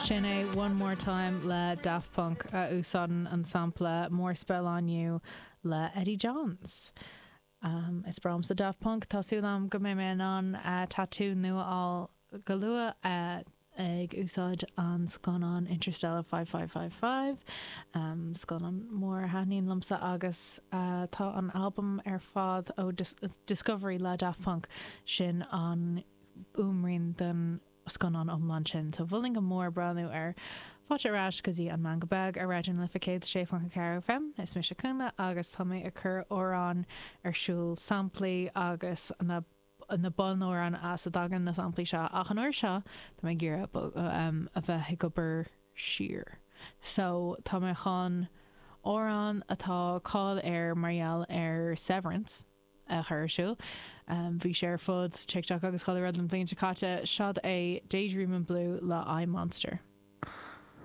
Sin é One More Time le Daft Punk a úsáideann an sampla More Spell On You le Eddie Johns. Is breá liomsa Daft Punk, tá súil agam go mbeidh mé in ann tatú nua a fháil go luath ag úsáid an scannán Interstellar 5555, scannán mór a thaitníonn liomsa agus tá an albam ar fad ó Discovery le Daft Punk, sin an fhuaimrian don scannán iomlán sin. So mholfainn go mór breathnú air. Fáilte ar ais go dtí an Meangadh Beag ar Raidió na Life 106.4 FM. Is mise Cúnla agus tá mé ag cur amhráin ar siúl, samplaí agus na na bunamhráin as a dtagann na samplaí seo ach an uair seo tá mé ag iarraidh a bheith ag obair siar. So tá mé chun amhrán atá cáil air mar gheall ar Severance, a chur ar siúl. Bhí sé ar fud TikTok agus chuile rud an bhliain seo caite. Seod é Daydreamin' Blue le I Monster.